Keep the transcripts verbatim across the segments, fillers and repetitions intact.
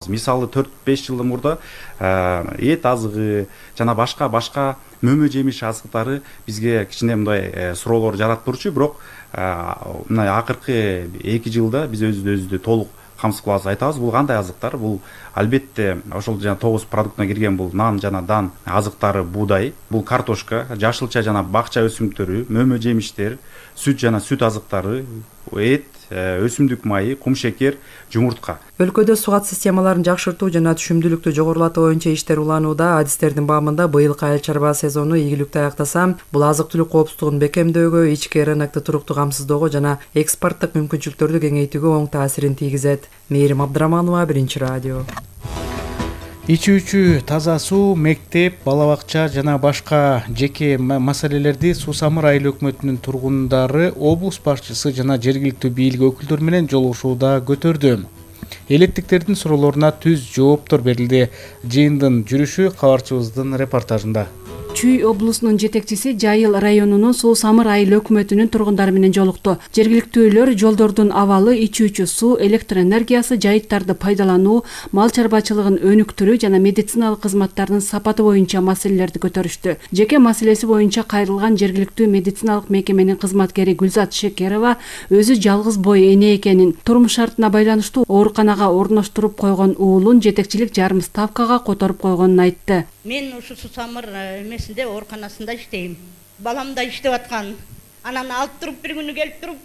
Мисалы төрт беш жыл мурда эт азыгы жана башка башка мөмө жемиш азыктары бизге кичине мындай суроолор жаратып турчу, бирок мына акыркы эки жылда биз өзүбүздү толук камсыз кылып айтабыз. Бул кандай азыктар? Бул албетте ошол жана тогуз продуктуна кирген бул нан жана дан азыктары, буудай, бул картошка, жашылча жана бакча өсүмдүктөрү, мөмө жемиштер, сүт жана сүт азыктары, эт, өсүмдүк майы, кумшекер, жумуртка. Өлкөдө сугат системаларын жакшыртуу жана түшүмдүүлүктү жогорулатуу боюнча иштер уланууда. Адистердин баамында быйылкы айыл чарба сезону ийгиликтүү аяктаса, бул азык-түлүк коопсуздугун бекемдөөгө, ички рынокто туруктуу камсыздоого жана экспорттук мүмкүнчүлүктөрдү кеңейтүүгө оң таасирин тийгизет. Мээрим Абдыраманова, Биринчи радио. Ичүүчү таза суу, мектеп, бала бакча жана башка жеке маселелерди Сусамыр айыл өкмөтүнүн тургундары облус башчысы жана жергиликтүү бийлик өкүлдөрү менен жолугушууда көтөрдү. Электиктердин суроолоруна түз жооптор берилди. Жыйындын жүрүшү кабарчыбыздын репортажында. Чүй облусунун жетекчиси Жайыл районунун Сусамыр айыл өкмөтүнүн тургундары менен жолукту. Жергиликтүүлөр жолдордун абалы, ичүүчү суу, электр энергиясы, жайыттарды пайдалануу, мал чарбачылыгын өнүктүрүү жана медициналык кызматтардын сапаты боюнча маселелерди көтөрүштү. Жеке маселеси боюнча кайрылган жергиликтүү медициналык мекеменин кызматкери Гүлзат Шекерова өзү жалгыз бой эне экенин, турмуш шартына байланыштуу ооруканага орноштуруп койгон уулун жетекчилик жарым ставкага которуп койгонун айтты. Мен ушу Сусамыр эмесинде ооруканасында иштейм. Балам да иштеп аткан. Анан алып туруп бир күнү келип туруп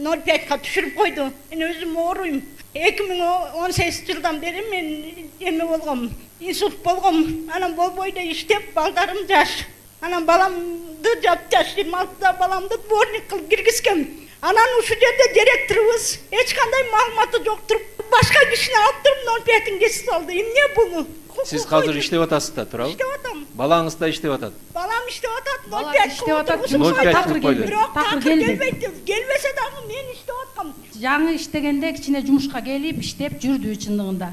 ноль пятка түшүрүп койду. Мен өзүм ооруйм. эки миң он сегизинчи жылдан бери мен эме болгом, инсульт болгом. Анан болбой да иштеп, балдарым жаш. Анан баламды жаш жыйырма алтыда баламды дворник кылып киргизгем. Анан ушул жерде директорубуз эч кандай маалыматы жок туруп, башка кишини алып туруп ноль пятин кесип салды. Эмне бул? Сиз азыр иштеп атасыз да, туурабы? Иштеп атам. Балаңыз да иштеп атат. Балам иштеп атат, ноль пять иштеп атат, такыр келбейт. Бирок такыр келбейт. Келбесе дагы мен иштеп аткам. Жаңы иштегенде кичине жумушка келип, иштеп жүрдү чындыгында.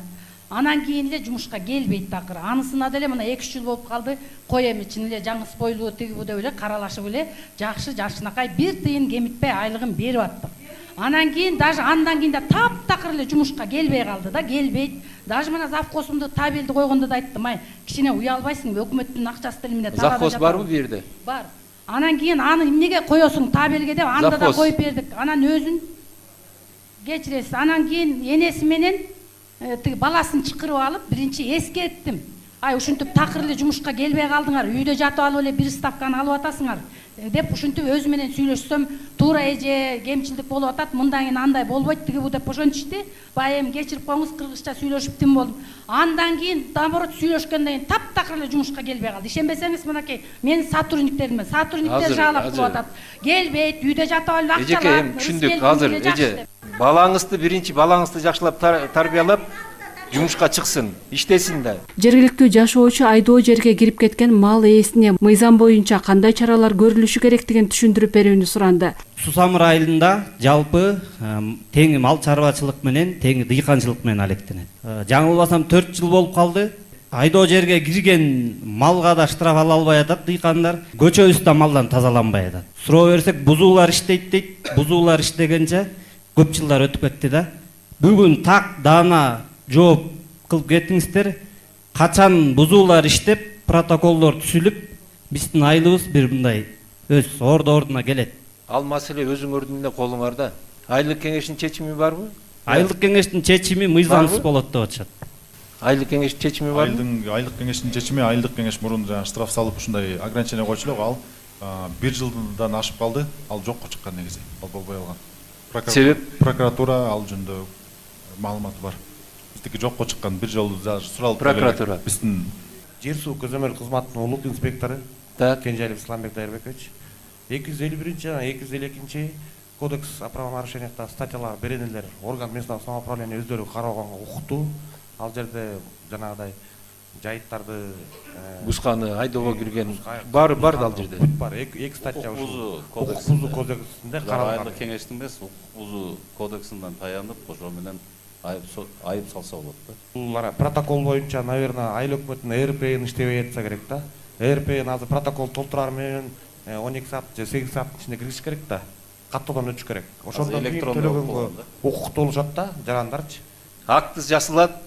Анан кийин эле жумушка келбейт такыр. Анысына деле мына эки үч жыл болуп калды. Кой эми чын эле жаңы спойлуу тигибу деп эле каралашып эле жакшы жашынакай бир тыйын кемитпей айлыгын берип аттык. Анан кийин даже андан кийин да таптакыр эле жумушка келбей калды да, келбейт. Даже мына завхозумду табелди койгондо да айттым, ай, кичине уялбайсыңбы, өкмөттүн акчасы деле эмне табада. Завхоз барбы бу жерде? Бар. Анан кийин аны эмнеге коесуң табелге деп анда да коюп бердик. Анан өзүн кечиресиз. Анан кийин энеси менен тиги баласын чакырып алып, биринчи эскерттим. Ай, ушинтип такыр эле жумушка келбей калдыңар, үйдө жатып алып эле бир ставканы алып атасыңар деп ушинтип өзү менен сүйлөшсөм, туура эже кемчилдик болуп атат, мындан кийин андай болбойт тиги бу деп ошентишти. Бая эми кечирип коюңуз, кыргызча сүйлөшүп тим болдум. Андан кийин наоборот сүйлөшкөндөн кийин таптакыр эле жумушка келбей калды. Ишенбесеңиз, мынакей, менин сотрудниктериме, сотрудниктер жаалап кылып атат. Келбейт, үйдө жатып алып акча алат. Эжеке, эми түшүндүк. Азыр эже балаңызды биринчи балаңызды жакшылап тарбиялап жумушка чыксын, иштесин да. Жергиликтүү жашоочу айдоо жерге кирип кеткен мал ээсине мыйзам боюнча кандай чаралар көрүлүшү керектигин түшүндүрүп берүүнү суранды. Сусамыр айылында жалпы тең мал чарбачылык менен, тең дыйканчылык менен алектенет. Жаңылбасам төрт жыл болуп калды. Айдоо жерге кирген малга да штраф ала албай атат дыйкандар. Көчөбүз да малдан тазаланбай атат. Суроо берсек, бузуулар иштейт дейт. Бузуулар иштегенче көп жылдар өтүп кетти да. Бүгүн так даана жооп кылып кетиңиздер. Качан бузуулар иштеп, протоколдор түзүлүп, биздин айылыбыз бир мындай өз орду-ордуна келет. Ал маселе өзүңөрдүн эле колуңарда. Айылдык кеңештин чечими барбы? Айылдык кеңештин чечими мыйзамсыз болот деп атышат. Айылдык кеңештин чечими барбы? Айылдын айылдык кеңештин чечими, айылдык кеңеш мурун жана штраф салып ушундай ограничение койчу элек, ал бир жылдан ашып калды. Ал жокко чыккан негизи. Ал болбой калган. Себеп? Прокуратура ал жөнүндө маалыматы бар. Биздики жокко чыккан, бир жолу суралып прокуратура. Биздин Жер суу көзөмөл кызматынын улук инспектору Кенжалиев Исламбек Дайырбекович эки жүз элүү биринчи жана эки жүз элүү экинчи кодекс о правонарушениях статьялар беренелер орган местного самоуправления өздөрү кароого укуктуу. Ал жерде жанагыдай жайыттарды бусканы, айдоого кирген бар бар да ал жерде. Бар, эки статья ушул укук бузуу кодексинде каралган. Айылдык кеңештин эмес, укук бузуу кодексинен таянып, ошо менен айып салса болот да. Бул протокол боюнча, наверное, айыл өкмөтүнүн эр пэ ин иштебей жатса керек да. эр пэ ин азыр протокол толтурар менен он эки саат же сегиз сааттын ичинде киришиш керек да. Каттоодон өтүш керек. Ошондон кийин төлөгөнгө укуктуу болушат да, жарандарчы. Актысы жасалат,